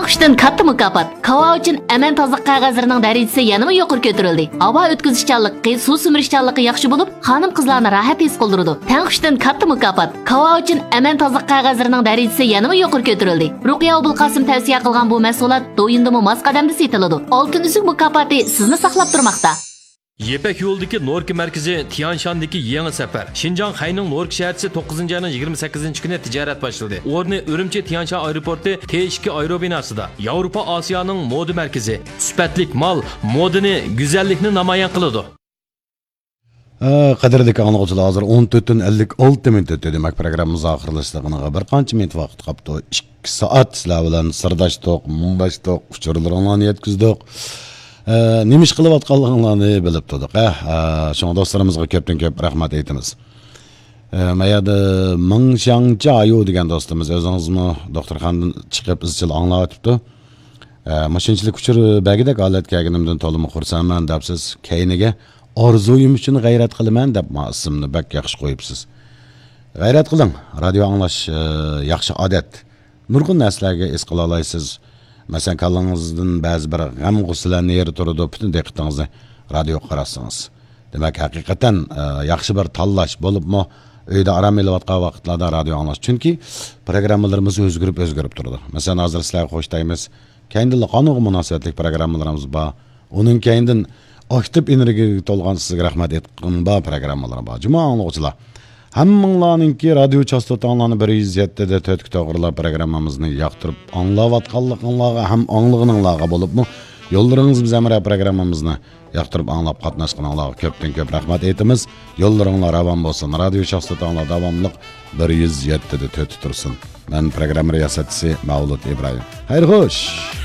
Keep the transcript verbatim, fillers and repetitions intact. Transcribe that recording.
قۇشتىن كاتتا مۇكاپات. كاۋاۋىچىن ئەمەن تازىلىق قەغەزلىرىنىڭ دەرىجىسى يەنىمۇ يۇقىرى كۆتۈرۈلدى. ھاۋا ئۆتكۈزۈشچانلىقى، سۇ سۈمۈرۈشچانلىقى ياخشى بولۇپ، خانىم-قىزلارنى راھەت ھېس قىلدۇرىدۇ. تەڭ قۇشتىن كاتتا مۇكاپات. كاۋاۋىچىن ئەمەن تازىلىق قەغەزلىرىنىڭ دەرىجىسى يەنىمۇ يۇقىرى كۆتۈرۈلدى. رۇقىيە ئوبۇلقاسىم تەۋسىيە قىلغان بۇ مەھسۇلات دويىندىمۇ ماس قەدەمدە سېتىلىدۇ. ئالتۇن ئۈزۈك مۇكاپاتى سىزنى ساقلاپ تۇرماقتا. يىپەك يولىدىكى نوركا مەركىزى، تيانشاندىكى يېڭى سەپەر. شىنجاڭ خەينىڭ نوركا شەھەرچىسى توققۇزىنچى ئاينىڭ يىگىرمە سەككىزىنچى كۈنى تىجارەت باشلىدى. ئورنى ئۈرۈمچى تيانشان ئايروپورتى تې ئىككى ئايرو بىناسىدا. ياۋروپا ئاسىيانىڭ مودا مەركىزى. سۈپەتلىك مال، مودىنى، گۈزەللىكنى نامايان قىلىدۇ. ئە، قەدىردىكى ئاڭلىغۇچىلار، ھازىر ئون تۆت ئون ئەللىك ئالتە مىنۇت ئۆتتى. دېمەك، پروگراممىمىز ئاخىرلىشىدىغىنىغا بىر قانچە مىنۇت ۋاقىت قاپتۇ. ئىككى سائەت سىلەر بىلەن سىرداشتۇق، مۇڭداشتۇق، ئۇچۇرلىرىڭلارنى يەتكۈزدۇق. ئە، نېمە ئىش قىلىۋاتقانلىقىڭلارنى بىلىپ تۇردۇق. ئە، ئە، شۇڭا دوستلىرىمىزغا كۆپتىن كۆپ رەھمەت ئېيتىمىز. ئە، ما يەردە مىڭ شياڭچا ئايۇ دېگەن دوستىمىز ئۆزىڭىزمۇ دوختۇرخانىدىن چىقىپ ئىزچىل ئاڭلاۋېتىپتۇ. ئە، مۇشۇنچىلىك ئۇچۇر بەرگۈدەك ھالەتكە كەلگىنىمدىن تولىمۇ خۇرسەنمەن دەپسىز. كەينىگە ئارزۇيۇم ئۈچۈن غەيرەت قىلىمەن دەپ ما ئىسىمنى بەك ياخشى قويۇپسىز. غەيرەت قىلىڭ، رادىيو ئاڭلاش، ئە، ياخشى ئادەت. نۇرغۇن نەرسىلەرگە ھېس قىلالايسىز. مەسىلەن، كاللىڭىزدىن بەزى بىر غەم-غۇسسىلەر نېرى تۇرىدۇ، پۈتۈن دىققىتىڭىزنى رادىيوغا قاراتسىڭىز. دېمەك، ھەقىقەتەن، ئە، ياخشى بىر تاللاش بولۇپمۇ، ئۆيدە ئارام ئېلىۋاتقان ۋاقىتلاردا رادىيو ئاڭلاش. چۈنكى پروگراممىلىرىمىز ئۆزگىرىپ، ئۆزگىرىپ تۇرىدۇ. مەسىلەن، ھازىر سىلەرگە خوش دەيمىز. كەينىدىنلا قانۇنغا مۇناسىۋەتلىك پروگراممىلىرىمىز بار. ئۇنىڭ كەينىدىن ئاكتىپ ئېنېرگىيەگە تولغان سىزگە رەھمەت ئېيتقىنىم بار پروگراممىلىرى بار. جۇمۇ ئاڭلىغۇچىلار، ھەممىڭلارنىڭكى رادىيو چاستوتاڭلارنى بىر يۈز يەتتە دە تۆتكە توغرىلاپ پروگراممىمىزنى ياقتۇرۇپ ئاڭلاۋاتقانلىقىڭلارغا ھەم ئاڭلىغىنىڭلارغا بولۇپمۇ، يوللىرىڭىز بىز ھەمراھ پروگراممىمىزنى ياقتۇرۇپ ئاڭلاپ قاتناشقىنىڭلارغا كۆپتىن كۆپ رەھمەت ئېيتىمىز. يوللىرىڭلار راۋان بولسۇن. رادىيو چاستوتاڭلار داۋاملىق بىر يۈز يەتتە دە تۆتتە تۇرسۇن. مەن پروگرامما رىياسەتچىسى مەۋلۇت ئىبراھىم. خەير خوش!